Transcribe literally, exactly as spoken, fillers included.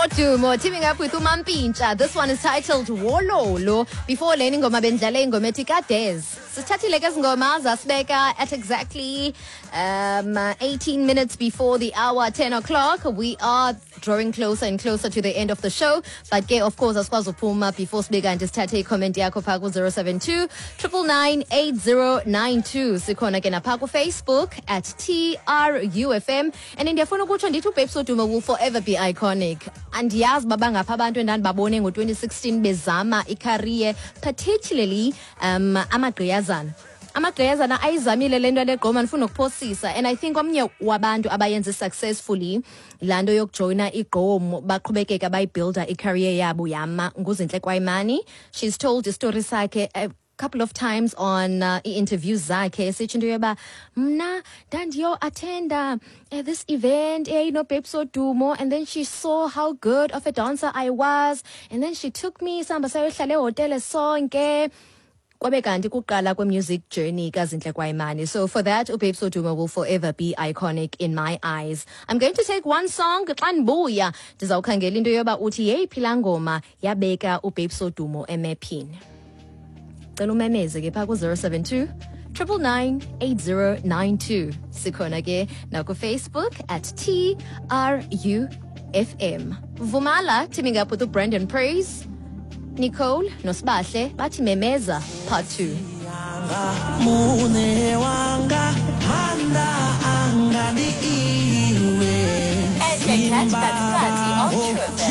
Wodumo teaming up with uMampintsha. This one is titled Wololo. Before le ingoma bendlale ingoma ethi Kades. Sithathile ke ngoma zasibeka at exactly um, eighteen minutes before the hour, ten o'clock. We are drawing closer and closer to the end of the show. But ke, of course, asikwazi uphuma before sibe kanti sithathe i-comment yakho phaa ku-zero seven two nine nine nine eight zero nine two. Sikhona ke napha ku-Facebook at T R U F M. And ndiyafuna ukutsho ndithi uBabes Wodumo will forever be iconic. Andiyazi uba bangapha abantu endandibabone ngo-twenty sixteen bezama i-career, particularly um amagqiyazana. Amagqiyazana ayizamile le nto legqoma, ndifuna ukuphosisa, and I think omnye wabantu abayenze successfully laa nto yokujoyina igqom, baqhubekeka bayibuilda i-career yabo yama, nguZinhle Kwayimani. She's told istori sakhe a couple of times on uh, ii-interviews zakhe, esitsho into yoba mna ndandiyo-attenda uh, this event eyayinoBabes Wodumo, and then she saw how good of a dancer I was, and then she took me, sihamba sayohlala ehotele sonke, kwabe kanti kuqala kwe-music journey kaZinhle Kwayimani. So for that, uBabes Wodumo will forever be iconic in my eyes. I'm going to take one song. Xa ndibuya ndizawukhangela into yoba uthi yeyiphi laa ngoma yabeka uBabes Wodumo emephini. Cela umemeze ke phaa ku-zero seven two nine nine nine eight zero nine two. Sikhona ke nakuFacebook at T R U F M. Vumala teaming up with uBrandon Praise, Nicole noSibahle, bathi Memeza part two. Mune wanga manda anga ndi iwe. And Cat Katikati on True F M.